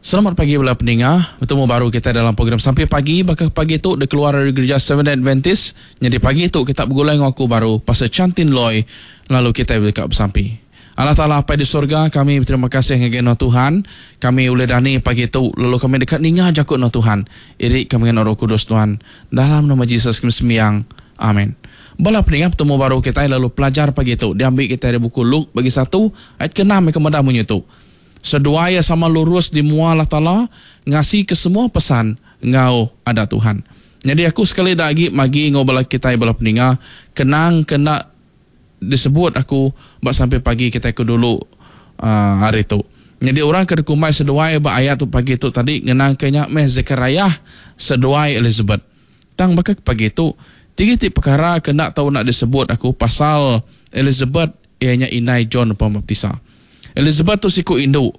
Selamat pagi bala peninga. Betemu baru kitai dalam program Sampi Pagi baka pagi tu dikeluar ari Gereja Seventh Adventist. Nyadi pagi tu kita begulai enggau aku baru Pastor Chantin Loy lalu kitai deka besampi. Allah Taala Apai di sorga, kami beterima kasih ngagai Nuan Tuhan. Kami ulih dani pagi tu lalu kami deka ninga jaku Nuan Tuhan. Iri kami ngena Roh Kudus Tuhan. Dalam nama Jesus kami sembiang. Amen. Bala peninga betemu baru kitai lalu pelajar pagi tu diambi kitai ari buku Luke bagi satu ayat ke-6 ke meda munyi tu. Seduai iya sama lurus di mua Allah Taala, ngasika semua pesan enggau adat Tuhan. Nyadi aku sekali da agi magi enggau bala kitai bala peninga, kenang ke enda disebut aku ba sampi pagi kitai ke dulu uhh hari tu. Nyadi orang ke dikumbai seduai ba ayat tu pagi tu tadi ngenangka nya meh Zekariah seduai Elizabeth. Tang baka ke pagi tu, tiga iti pekara ke enda tau enda disebut aku pasal Elizabeth iya nya indai John Pemaptisa. Elizabeth tu siku indu.